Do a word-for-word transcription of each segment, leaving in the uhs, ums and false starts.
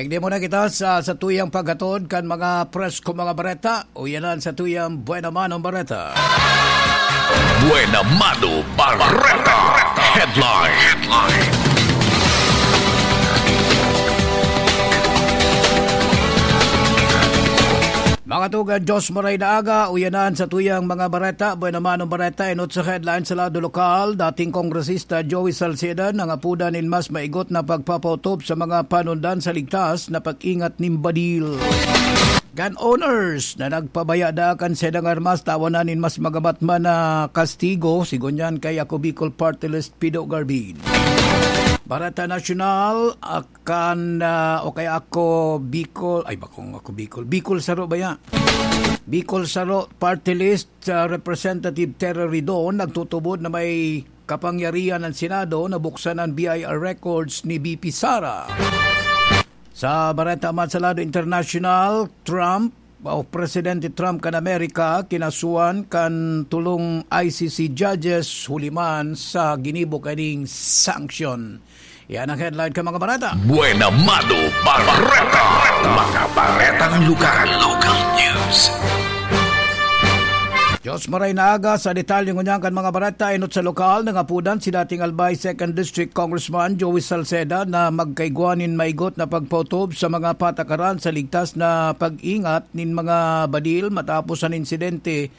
Igdi mo na kita sa, sa tuyang paghatod kan mga presko mga bareta. Uyanan sa tuyang Buena Mano Bareta. Buena Mano Bareta. Headline. Mga tugang, Diyos maray na aga, uyanan sa tuyang mga bareta. Buena Mano Bareta, enot sa headline sa lado lokal. Dating Kongresista Joey Salceda nangapodan nin mas maigot na pagpapautob sa mga panundan sa ligtas na pag-ingat nin badil. Gun owners na nagpabaya daa kan saindang armas, tawanan nin mas magabat man na kastigo, sigon yan kay Ako Bicol Party List Pido Garbin. Bareta Nasyonal, akan, ah, o kaya Ako Bicol, ay, bakong Ako Bicol, Bicol Saro ba yan? Bicol Saro Party List, ah, Representative Terry Ridon nagtutubod na may kapangyarihan ang Senado na buksan ang B I R records ni V P Sara. Sa Bareta man sa lado internasyonal, Trump, o Presidente Trump kan Amerika, kinasuhan kan tulong I C C judges huli man sa ginibo kaning sanction. Yan ang headline ka mga bareta. Buena Mano Bareta. Mga baretang lugar. Local news. Diyos maray na aga sa detalye ngunyan kan mga bareta. Enot sa lokal, nangapodan si dating Albay Second District Congressman Joey Salceda na magkaigwa nin maigot na pagpautob sa mga patakaran sa ligtas na pag-ingat nin mga badil matapos an insidente,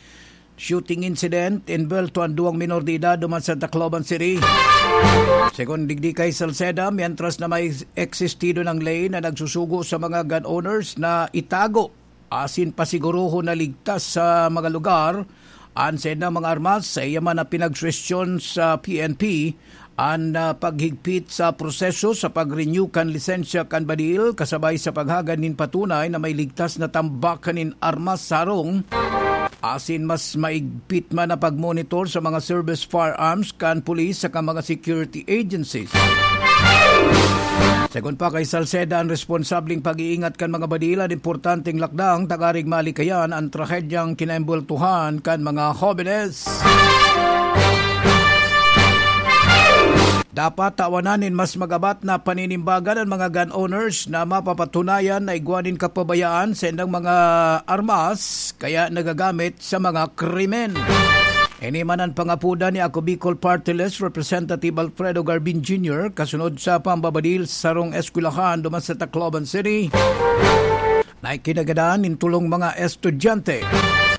shooting incident, envuelto an duwang minor de edad duman sa Tacloban City. Segun digdi kay Salceda, mientras na may existido ng ley na nagsusugo sa mga gun owners na itago asin pasigurohon na ligtas sa mga lugar an saindang mga armas, sa iya man na pinagsuwestiyon sa P N P an, ah, paghigpit sa proseso sa pag-renew kan lisensya kan badil, kasabay sa paghagad nin patunay na may ligtas na tambakan nin armas sa harong, asin mas maigpit man na pagmonitor sa mga service firearms kan pulis saka mga security agencies. Segun pa kay Salceda, an responsableng pag-iingat kan mga badil an importanteng lakdang tanganing malikayan an trahedyang kinaembweltohan kan mga hobenes. Dapat tawanan nin mas magabat na paninimbagan an mga gun owners na mapapatunayan na igwa nin kapabayaan sa indang mga armas kaya nagagamit sa mga krimen. Ini man an pangapodan ni Ako Bicol Party List Representative Alfredo Garbin Junior kasunod sa pambabadil sa sarong eskwelahan duman sa Tacloban City na ikinagadan nin tulong mga estudyante.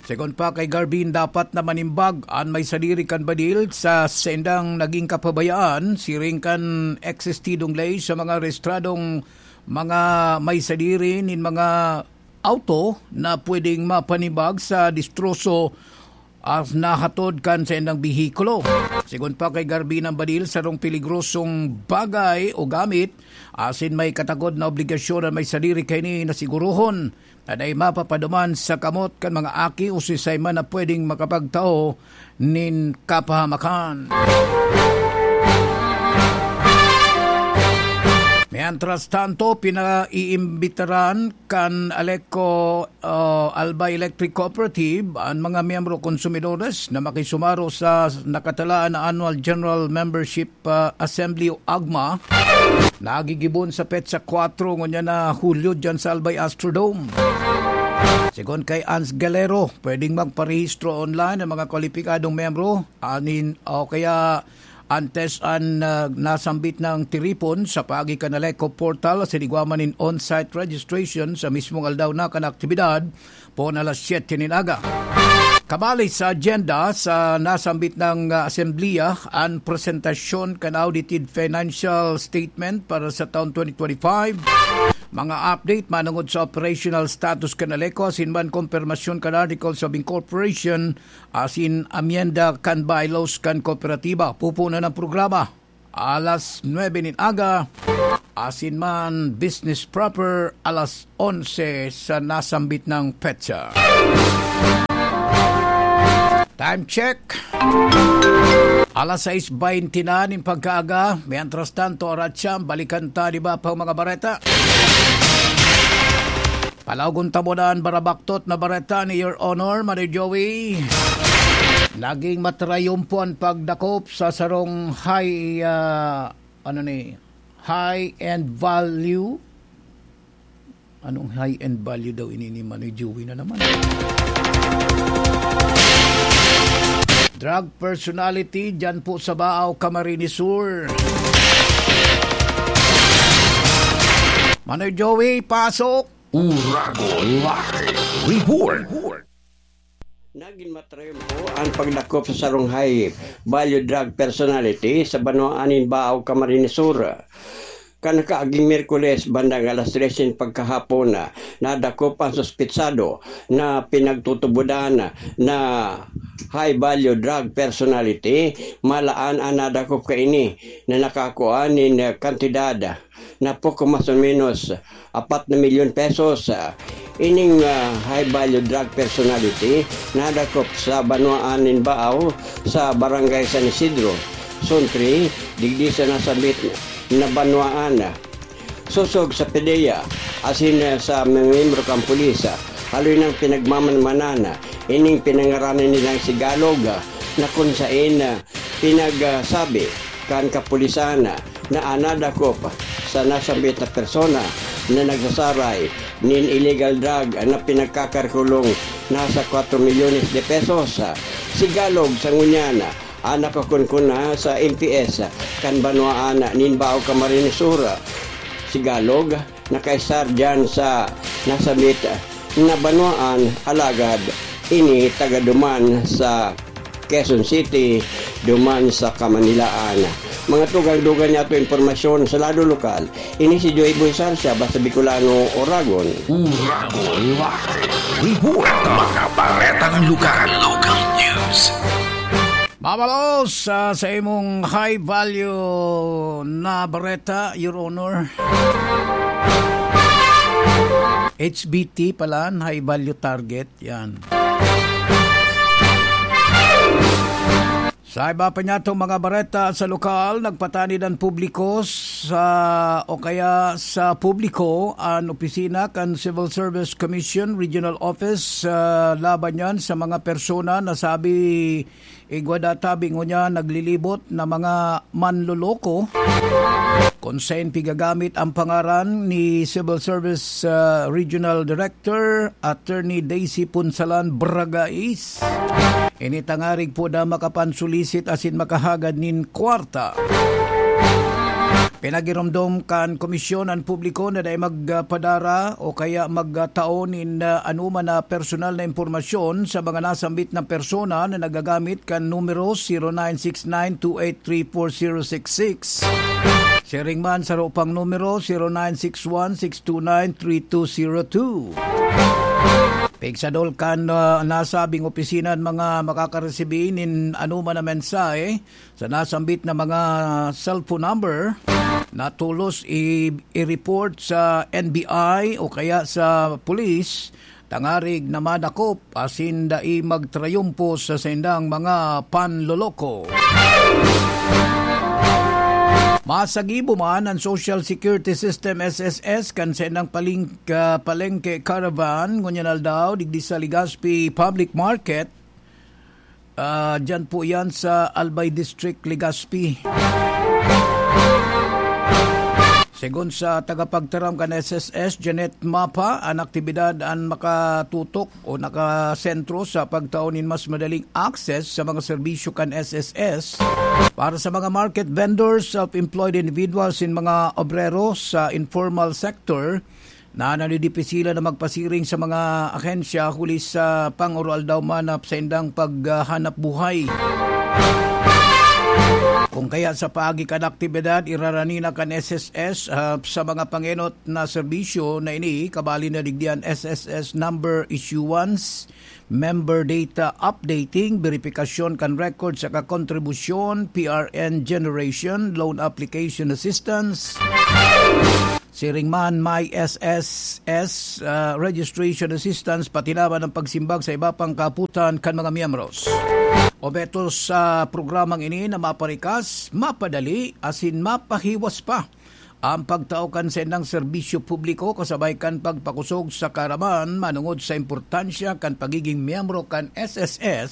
Segun pa kay Garbin, dapat na manimbag an may sadiri kan badil sa saindang naging kapabayaan siring kan existidong ley sa mga rehistradong mga may sadiri nin mga auto na pwedeng mapanibag sa distroso as nahatod kan saindang behikulo. Segun pa kay Garbin, an badil sarong peligrosong bagay o gamit, asin may katakod na obligasyon an may sadiri kaini na sigurohon na dai mapapaduman sa kamot kan mga aki o sisay man na pwedeng makapagtao nin kapahamakan. Mientras tanto, pinaiimbitaran kan Aleco, uh, Albay Electric Cooperative an mga miyembro konsumidores na makisumaro sa nakatalaan na annual general membership, uh, assembly o agma na gigibon sa petsa kwatro ngunyan na Hulyo dyan sa Albay Astrodome. Segun kay Ans Galero, pwedeng magparehistro online ang mga kwalipikadong miyembro anin o kaya antes an, ah, nasambit na tiripon sa paagi kan Aleco Portal sa ligwaman nin on-site registration sa mismong aldaw na kan aktibidad, poon alas siyete nin aga. Kabali sa agenda sa nasambit na, ah, asembleya an presentasyon kan audited financial statement para sa taon twenty twenty-five, mga update manungod sa operational status kan Aleco asin man kompermasyon kan Articles of Incorporation asin amyenda kan bylaws kan kooperatiba. Pupunan ang programa alas nuebe nin aga, asin man business proper alas onse sa nasambit na petsa. Time check. Alas sais baynte na nin pagkaaga. Mientras tanto, Aratsam, balikan ta, di ba, pang mga bareta? Palaogon ta muna an barabaktot na bareta ni Your Honor, Manoy Joey. Naging matrayumpo an pagdakop sa sarong high, ah, ano ni, high-end value Anong high-end value daw ini ni Manoy Joey na naman? Drug personality dyan po sa Baao, Camarines Sur. Manoy Joey, pasok! Uragon Live Report. Nagin matrayom po an pagdakop sa sarong high value drug personality sa banwaan nin Baao, Camarines Sur. Kan nakaaging Miyerkules, bandang alas tres nin pagkahapon, nadakop an suspetsado na pinagtutubodan na high value drug personality. Malaan an nadakop kaini na nakakua nin kantidad na poko mas o menos apat na milyon pesos. Ining, ah, high value drug personality nadakop sa banwaan nin Baao sa Barangay San Isidro, Zone three, digdi sa nasambit na banwaan. Sosog sa PDEA asin sa mga miyembro kan pulis, haloy nang pinagmamanmanan ining pinangaranan nilang si Galog, na kun saen pinagsabi kan kapulisan na an nadakop sa nasambit na persona na nagsasaray nin illegal drug na pinagkakalkulong nasa kwatro milyones de pesos. Si Galog sa ngunyan an nakakunkuna sa M P S kan banwaan nin Baao, Camarines Sur. Si Galog nakaestar diyan sa nasambit na banwaan, alagad ini taga duman sa Quezon City, duman sa Kamanilaan. Mga tugang-dugang niyato impormasyon sa lado lokal, ini si Joy Boy Sarsia, basta Bicolano, Oragon. Uragon Live Report. Mga baretang lokal. Local news. Mabalos, ah, sa imong high value na bareta, Your Honor. H B T pala, high value target, yan. Sa iba pa niyatong mga bareta sa lokal, nagpatanid an publiko sa, o kaya sa publiko, an opisina kan Civil Service Commission Regional Office, ah, laban niyan sa mga persona na sabi igwa data bingo niya naglilibot na mga manloloko. Kung saen pigagamit ang pangaran ni Civil Service, ah, Regional Director Attorney Daisy Punsalan Bragais, ini tangarig po na makapansulisit asin makahagad nin kwarta. Pinagiromdom kan komisyon an publiko na dai magpadara o kaya magtao nin, ah, anoman na personal na impormasyon sa mga nasambit na persona na nagagamit kan numero zero nine six nine two eight three four zero six six. Siring man, saro pang numero, zero nine six one six two nine three two zero two. Pigsadol kan, ah, nasabing opisina an mga makakaresibi nin anoman na mensahe sa nasambit na mga cellphone number na tolos i-, i-report sa N B I o kaya sa pulis, tangarig na madakop asin dai magtrayumpo sa saindang mga panloloko. Masagibo man an Social Security System, S S S, kan saindang paling-, ah, palengke caravan ngunyan aldaw digdi sa Legazpi Public Market. Ah, diyan po yan sa Albay District, Legazpi. Segun sa tagapagtaram kan S S S, Janet Mapa, an aktibidad an makatutok o nakasentro sa pagtao nin mas madaling access sa mga serbisyo kan S S S para sa mga market vendors, self-employed individuals, asin mga obrero sa informal sector na nanidipisilan na magpasiring sa mga ahensya huli sa pangoroaldaw man na saindang paghanap buhay. Kung kaya sa paagi kan aktibidad, irarani na kan S S S, ah, sa mga pangenot na serbisyo na ini, kabali na digdi an S S S number issuance, member data updating, beripikasyon kan record saka kontribusyon, P R N generation, loan application assistance. Siring man, may S S S, ah, registration assistance, pati naman ang pagsimbag sa iba pang kaputan kan mga miyembros. Obheto sa programang ini na maparikas, mapadali, asin mapahiwas pa ang pagtao kan saindang serbisyo publiko kasabay kan pagpakusog sa kaaraman manongod sa importansya kan pagigin miyembro kan S S S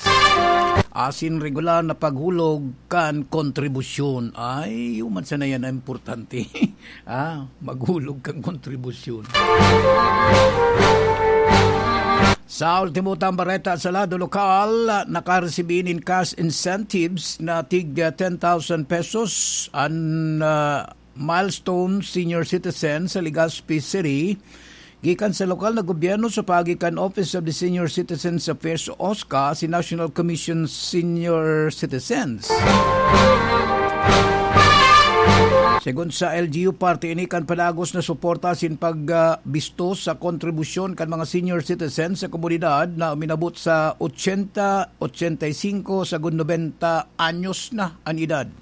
asin regular na paghulog kan kontribusyon. Ay, iyo man sana yan ang importante. Ah, maghulog kan kontribusyon. Sa ultimo tang bareta sa lado lokal, nakaresibi nin cash incentives na tig ten thousand pesos an, ah, milestone senior citizen sa Legazpi City gikan sa lokal na gobyerno sa paagi kan Office of the Senior Citizens Affairs o OSCA, si National Commission Senior Citizens. Segun sa L G U, parte ini kan padagos na suporta sin pagbisto sa kontribusyon kan mga senior citizens sa komunidad na uminabot sa ochenta, ochenta y cinco, sagud nobenta anyos na an edad.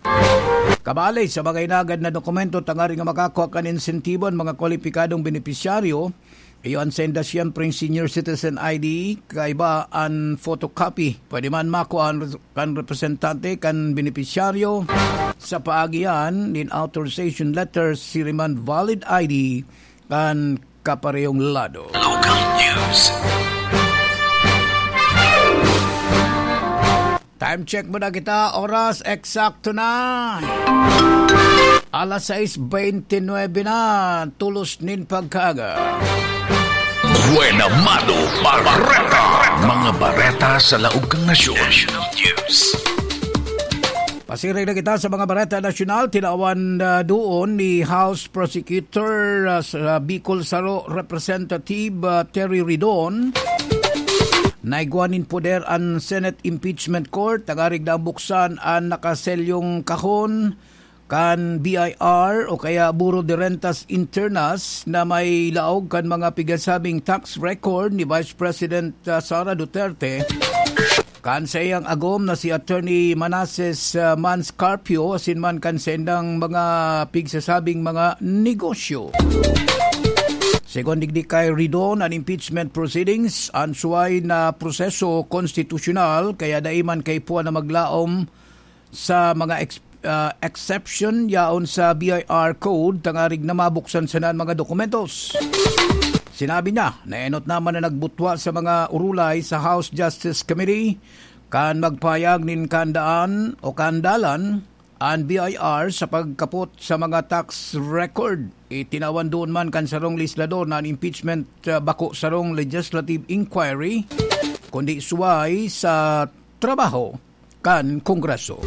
Kabali sa mga inagad na dokumento tanganing makakua kan insentibo an mga kwalipikadong benepisyaryo, iyo an senda siyempre ang senior citizen I D, kaiba an photocopy. Pwede man makua an res-, kan representante kan benepisyaryo sa paagi yan nin authorization letter, siring man valid I D kan kaparehong lado. Local news. Time check muna kita. Oras eksakto na alas sais bente nuebe na. Tolos nin pagkaaga. Buena Mano Bareta. Mga bareta sa laog kan nasyon. National News. Pasiring na kita sa mga bareta nasyonal. Tinawan, ah, doon ni House Prosecutor, ah, sa Bicol Saro Representative, ah, Terry Ridon na igwa nin poder an Senate Impeachment Court, tangarig na buksan an nakaselyong kahon kan B I R o kaya Bureau de Rentas Internas na may laog kan mga pigasabing tax record ni Vice President, ah, Sara Duterte kan saiyang agom na si Attorney Manases, ah, Mans Carpio asin man kan saindang mga pigsasabing mga negosyo. Segun digdi kay Ridon, an impeachment proceedings an suway na proseso konstitusyonal, kaya dai man kaipuhan na maglaom sa mga ex-, ah, exception yaon sa B I R Code tangarig na mabuksan sana an mga dokumentos. Sinabi niya na enot naman na nagbutwa sa mga urulay sa House Justice Committee kan magpahayag nin kaandaan o kaandalan an B I R sa pagkapot sa mga tax record. Itinawan doon man kan sarong legislador na an impeachment, ah, bako sarong legislative inquiry, kundi suway sa trabaho kan Kongreso.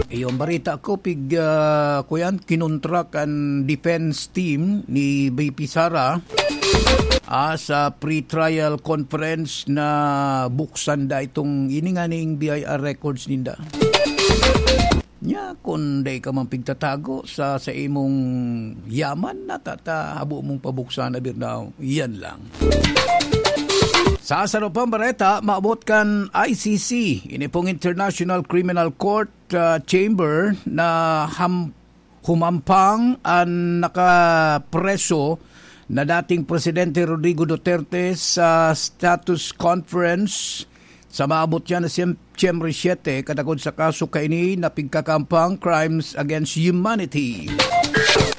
Iyo an bareta ko, pig-, ah, kuyan, kinontra kan defense team ni V P Sara, ah, sa pre-trial conference na buksan da itong ini nganing B I R records ninda. Nya, kun dai ka man pigtatago sa, sa imong yaman, na tata, habo mong pabuksan na birnaw. Yan lang. Sa sarong pang bareta, maabot kan I C C, ini pong International Criminal Court, ah, Chamber, na ham-, humampang an nakapreso na dating Presidente Rodrigo Duterte sa status conference sa maabot yan na Siyem-, Siyempre siete, katakod sa kaso kaini na pigkakampang crimes against humanity.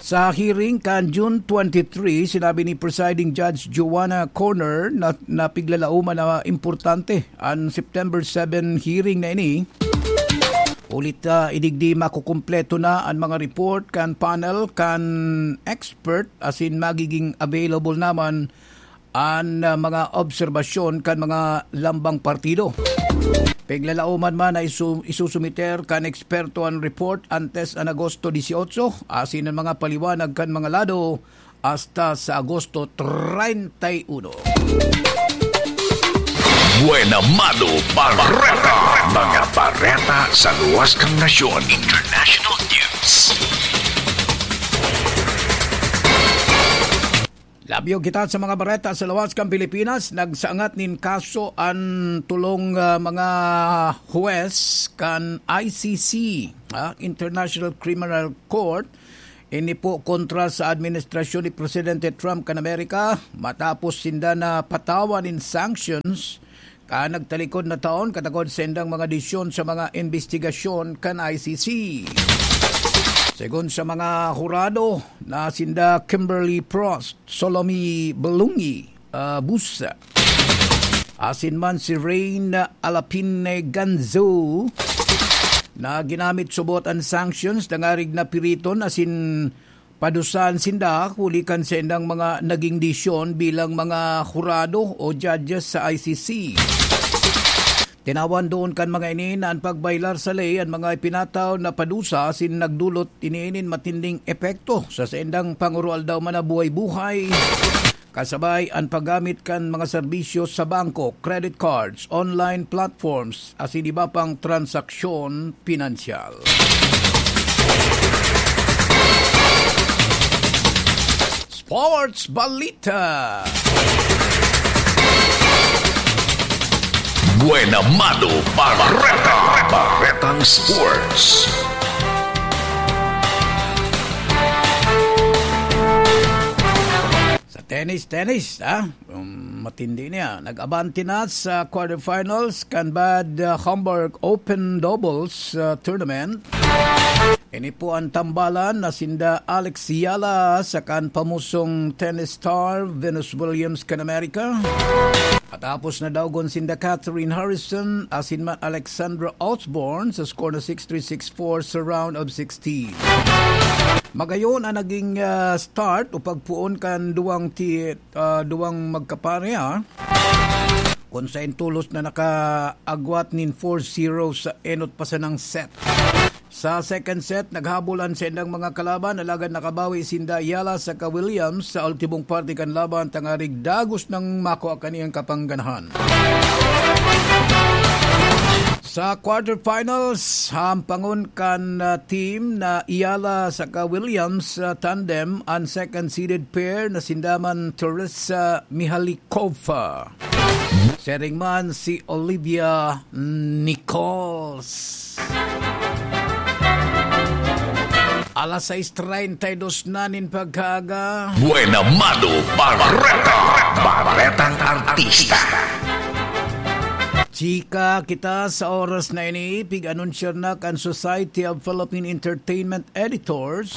Sa hearing kan June twenty-three, sinabi ni Presiding Judge Joanna Corner na, na piglalauman na importante an September seven hearing na ini. Ulit, ah, idigdi makukumpleto na an mga report kan panel kan expert asin magiging available naman an, ah, mga obserbasyon kan mga lambang partido. Piglalauman man na isu-, isusumiter kan eksperto an report antes an Agosto dieciocho, asin an mga paliwanag kan mga lado hasta sa Agosto treinta y uno. Buena Mano Bareta. Mga bareta sa luwas kan nasyon. International News. Labyog kita sa mga bareta sa lawas kan Pilipinas. Nagsangat nin kaso an tolong, ah, mga huwes kan I C C, ah, International Criminal Court. Ini po kontra sa administrasyon ni Presidente Trump kan Amerika, matapos sinda na patawan nin sanctions kan nagtalikod na taon, katakod sa indang mga desisyon sa mga imbestigasyon kan I C C. Segun sa mga hurado na sinda Kimberly Prost, Solomi Belungi, ah, Busa, asin man si Rain Alapine Ganzo, na ginamit subot an sanctions dangarig napiriton asin padusahan sinda huli kan saindang mga naging desisyon bilang mga hurado o judges sa I C C. Tinawan doon kan mga ini na an pagbaylar sa ley an mga ipinataw na padusa asin nagdulot ini nin matinding epekto sa saindang pangoroaldaw man na buhay-buhay, kasabay an paggamit kan mga serbisyo sa bangko, credit cards, online platforms, asin iba pang transaksyon pinansyal. Sports Balita. Buena Mano Bareta. Baretang Sports. Sa tennis, tennis, ha? Um, matindi niya. Nag-abante na sa quarterfinals kan Bad, uh, Hamburg Open Doubles, uh, Tournament. Ini po an tambalan na sinda Alex Yala saka an pamusong tennis star Venus Williams kan Amerika. Katapos na daugon sinda Catherine Harrison asin man Alexandra Osborne sa score na six three, six four sa round of sixteen. Magayon an naging, ah, start o pagpoon kan duwang ti-, ah, duwang magkapareha, kun saen tolos na nakaagwat nin four zero sa enot pa sanang set. Sa second set, naghabol an saindang mga kalaban, alagad nakabawi sinda Yala saka Williams sa ultimong parte kan laban, tangarig dagos nang makua kaniyang kapangganahan. Sa quarterfinals, hampangon kan, ah, team na Yala saka Williams, ah, tandem an second seeded pair na sinda man Teresa Mihalikova. Siring man si Olivia Nichols. Alas sais treinta y dos na nin pagkaaga. Buena Mano Bareta. Baretang Artista. Chika kita sa oras na ini, pig-anunsyar na kan Society of Philippine Entertainment Editors.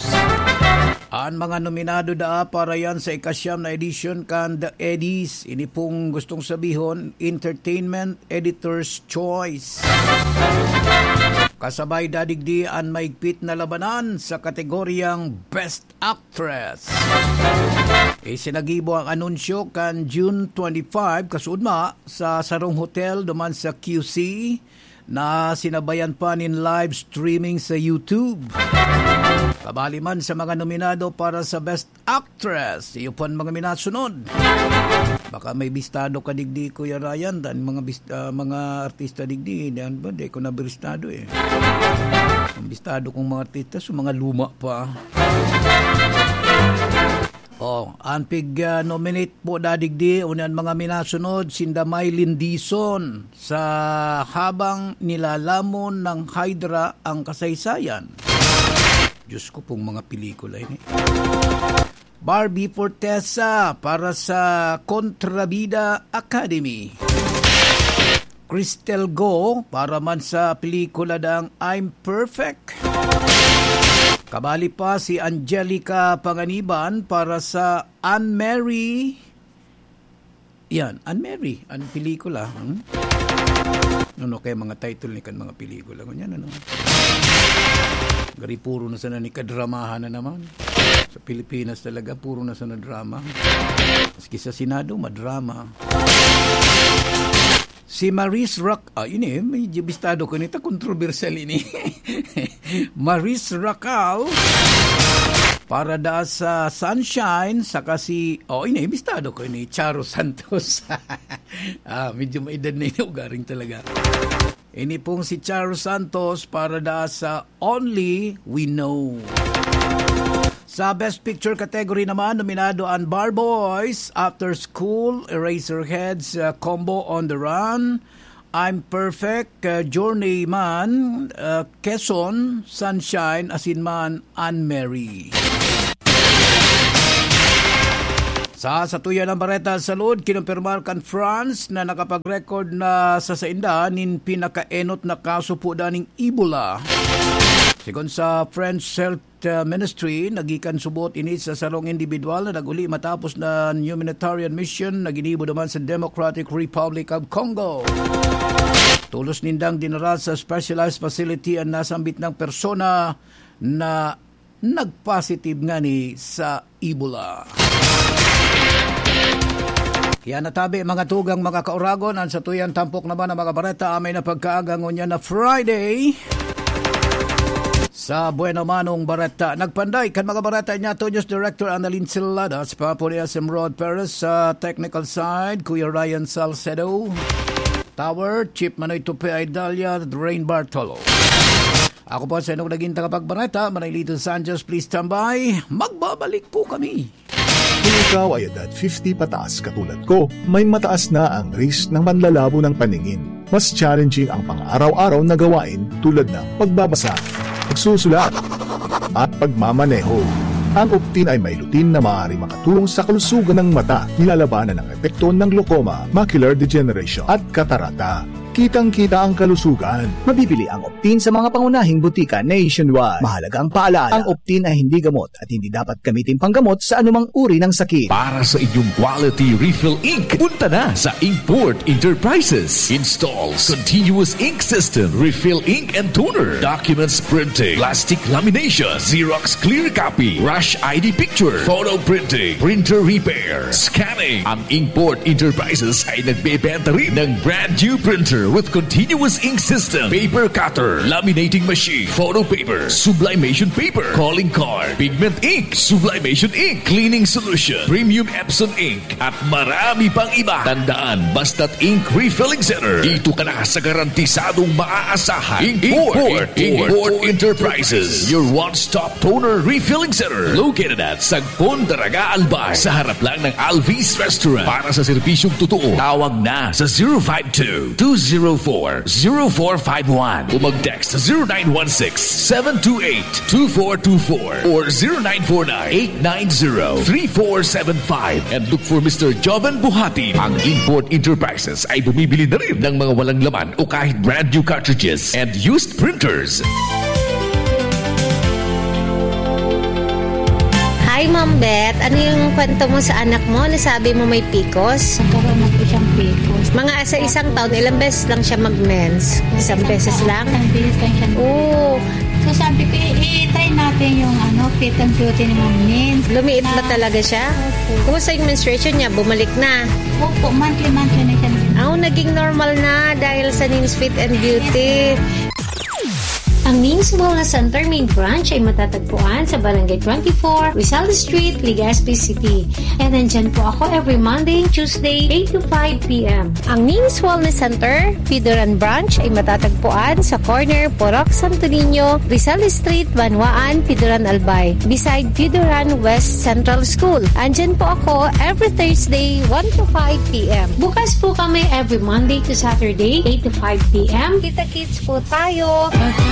An mga nominado daa para yan sa ikasyam na edisyon kan The Eddies. Ini pong gustong sabihon, Entertainment Editor's Choice. Kasabay dadigdi an maigpit na labanan sa kategoryang Best Actress. Isinagibo ang anunsyo kan June twenty-five, kasuodma, sa sarong hotel duman sa Q C na sinabayan pa nin live streaming sa YouTube. Kabali man sa mga nominado para sa Best Actress, iyo po an mga minasunod. Baka may bistado ka digdi, Kuya Ryan, dan mga bist-, ah, mga artista digdi, dan ba, di ko na bistado eh. Ang bistado kong mga artista, so mga luma pa. Oh, ang pig, ah, nominate po dadigdi, unya an mga minasunod, sinda Mylene Dizon sa Habang Nilalamon ng Hydra ang Kasaysayan. Diyos ko pong mga pelikula ini. Barbie Fortesa para sa Kontrabida Academy. Crystal Go para man sa pelikula dang I'm Perfect. Kabali pa si Angelica Panganiban para sa Anne Mary. Yan, Anne Mary, an pelikula. Hmm? Ano kaya mga title ni kan mga pelikula? Ganyan, ano? Gari puro na sana ni kadramahan na naman. Sa Pilipinas talaga, puro na sana drama. Maski sa Senado, madrama. Si Maris Rac-, ah, ini, medyo bistado ko nito, kontrobersyal ini. Maris Racal, para da sa Sunshine, saka si, oh, ini, bistado ko ini, Charo Santos. Ah, medyo maedad na ini, ugaring talaga. Ini pong si Charo Santos para da sa Only We Know. Sa Best Picture category naman, nominado an Bar Boys, After School, Eraserheads, uh, Combo on the Run, I'm Perfect, uh, Journeyman, uh, Quezon, Sunshine, asin man, Anne Mary. Sa satuya ng bareta sa salud, kinumpirmar kan France na nakapag-record na sa sainda nin pinakaenot na kaso po daning Ebola. Segun sa French Health uh, Ministry, nagikan subot ini sa sarong individual na nag-uli matapos na humanitarian mission na ginibo naman sa Democratic Republic of Congo. Tolos nindang dinara sa specialized facility ang nasambit ng persona na nagpositive ngani sa Ebola. Kaya natabi, mga tugang, mga kauragon, ang satuyan tampok naman ang mga bareta amay na pagkaaga ngunyan na Friday. Sa Bueno Manong Bareta, nagpanday kan mga bareta niya to News Director Annalyn Silada, sa Papo ni S M Rod Perez, sa technical side, Kuya Ryan Salcedo, Tower, Chief Manoy Tupe Idalia, Rain Bartolo. Ako po sa inyong naging tagapagbareta, Manilito Sanchez, please stand by. Magbabalik po kami. Kung ikaw ay edad fifty pataas katulad ko, may mataas na ang risk ng panlalabo ng paningin. Mas challenging ang pang-araw-araw na gawain tulad ng pagbabasa, pagsusulat, at pagmamaneho. Ang Optin ay may lutein na maaari makatulong sa kalusugan ng mata, nilalabanan ang epekto ng glaucoma, macular degeneration, at katarata. Kitang-kita ang kalusugan. Mabibili ang Optin sa mga pangunahing butika nationwide. Mahalagang paalala, ang Optin ay hindi gamot at hindi dapat gamitin panggamot sa anumang uri ng sakit. Para sa inyong quality refill ink, punta na sa Inkport Enterprises. Installs continuous ink system, refill ink and toner, documents printing, plastic lamination, Xerox clear copy, rush I D picture, photo printing, printer repair, scanning. Ang Inkport Enterprises ay nagbebenta rin ng brand new printer with continuous ink system, paper cutter, laminating machine, photo paper, sublimation paper, calling card, pigment ink, sublimation ink, cleaning solution, premium Epson ink, at marami pang iba. Tandaan, basta't ink refilling center, dito ka na sa garantisadong maaasahan. Import, Import, Import Enterprises, your one-stop toner refilling center. Located at Sagpon, Daraga, Albay, sa harap lang ng Alvis Restaurant. Para sa serbisyong totoo, tawag na sa zero five two, two zero four, zero four five one o mag-text sa zero nine one six, seven two eight, two four two four or zero nine four nine, eight nine zero, three four seven five and look for Mister Joven Buhati. Ang Import Enterprises ay bumibili na rin ng mga walang laman o kahit brand new cartridges and used printers. Hi, Ma'am Beth. Ano yung kwento mo sa anak mo? Nasabi mo may picos? Nagkaroon na po siyang picos. Mga sa isang taon, ilang beses lang siya mag-mens? Isang beses lang? Isang beses lang siya. Oo. So, sabi ko, "I-, i-try natin yung, ano, fit and beauty ni Ma'am Min." Lumiit ba talaga siya? Opo. Kumusta yung menstruation niya? Bumalik na? Opo, monthly-monthly na siya. Ah, naging normal na dahil sa Nin's Fit and Beauty. Ang Nin's Wellness Center main branch ay matatagpuan sa Barangay twenty-four, Rizal Street, Legazpi City. And nandyan po ako every Monday and Tuesday, eight to five p m. Ang Nin's Wellness Center, Pidoran Branch, ay matatagpuan sa corner Purok Santo Niño, Rizal Street, Banwaan, Pidoran, Albay, beside Pidoran West Central School. Andyan po ako every Thursday, one to five p m. Bukas po kami every Monday to Saturday, eight to five p m. Kita-kits po tayo.